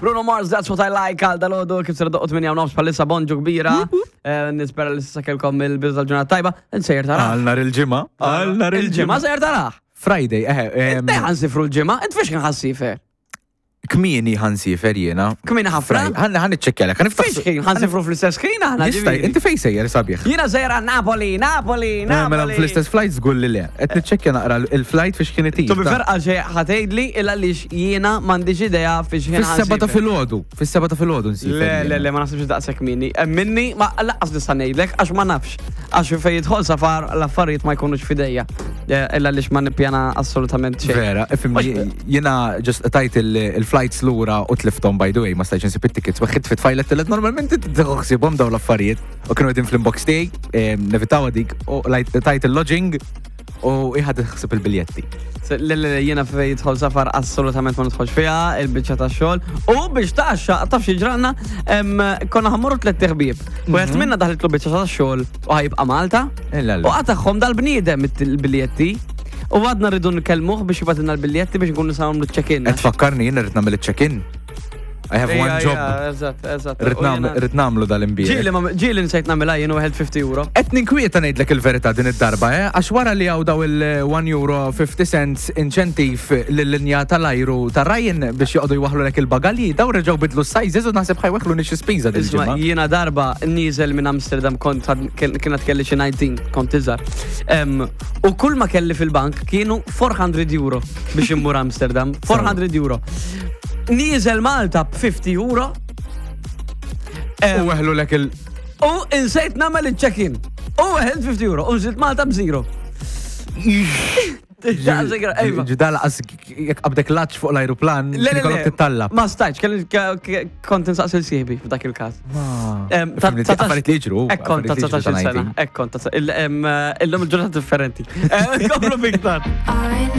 Bruno Mars, That's What I Like, għal dal-ħodu, kif sera doqqot minn nofs palissa bonġu kbira. Eh, nispera li s kelkom il-bidu tal-ġurnata tajba. Nsejjer taraħ. Għal nar il-ġimgħa. Għal nar il-ġimgħa sejjer taraħ. Friday, eħe. Eh, ħansifru l-ġimgħa, int fiex kien ħassifer? Kmieni ħansifer jiena. Kmieni ħafna? Ħan ħan iċċekkjalek, ħan niftaħ. Fiex ħansifru fl-istess ħin aħna. Jista' inti fejn sejjer sabiħ? Jiena sejjer għal Napoli, Napoli, eh, Napoli. Mela fl-istess flight żgur li le. Qed niċċekkja naqra il-flight fiex kien itir. Tu biferqa xejn ħatgħidli il għaliex jiena m'għandix idea fiex ħin. Fis-seba ta' filgħodu, fis-seba ta' filgħodu nsiefer. Le, le, le, ma naħsibx daqshekk minni. Eh, minni ma laqqas nista' ngħidlek għax ma nafx. Għax fejn jidħol safar l-affarijiet ma jkunux f'idejja. Eh, illa għaliex ma nippjana assolutament xejn. Vera, ifimni, jiena just tajt il-flights lura u tliftom by the way, ma stajtx insib it-tickets, weħid fit tfajlet tillet normalment tieħu ħsiebhom dawn l-affarijiet u kienu qegħdin fl-inbox tiegħi, eh, nevitaw dik u tajt il-lodging u iħad ħsib il-biljetti. Le, le, jiena fej jidħol safar assolutament ma nidħolx fiha, il-biċċa ta' xogħol. U biex taxxa, taf xi ġranna, konna ħammorru tliet ħbieb. U qed minna daħlitlu biċċa ta' xogħol u ħajibqa' Malta. U qatagħhom dal-bniedem il-biljetti. U għadna rridu nkellmuh biex jibatilna l-biljetti biex nkunu nistgħu nagħmlu check-in. Qed tfakkarni jien irrid nagħmel iċ-check-in. I have one job. Eżatt, eżatt. Rrid nagħmlu dal-imbierek. Ġieli ma ġieli nsejt nagħmilha jien u 50 euro. Qed ninkwieta ngħidlek il-verità din id-darba, eh? Għax wara li hawn daw il-1 euro 50 cents inċentiv lill-linja tal-ajru ta' Ryan biex joqogħdu jwaħħlulek il-bagalji, daw reġgħu bidlu s-sizes u naħseb ħa jweħħluni xi spiża din il-ġimgħa. Jiena darba nieżel minn Amsterdam kont kienet kelli xi 19, kont iżgħar. U kull ma kelli fil-bank kienu 400 euro biex immur Amsterdam. 400 euro. Nieżel Malta b'50 euro. U weħlu lek il- U insejt nagħmel il-check-in. U weħelt 50 euro. U nżilt Malta b'zero. Ġidal qas jekk qabdek laċ fuq l-ajruplan, Le, le, le. Titallab. Ma stajtx, kont insaqsi l-sieħbi f'dak il-każ. Affarijiet li jiġru. Ekk kont ta' 19 sena. Ekk kont ta' illum il-ġurnata differenti. Komplu biktar.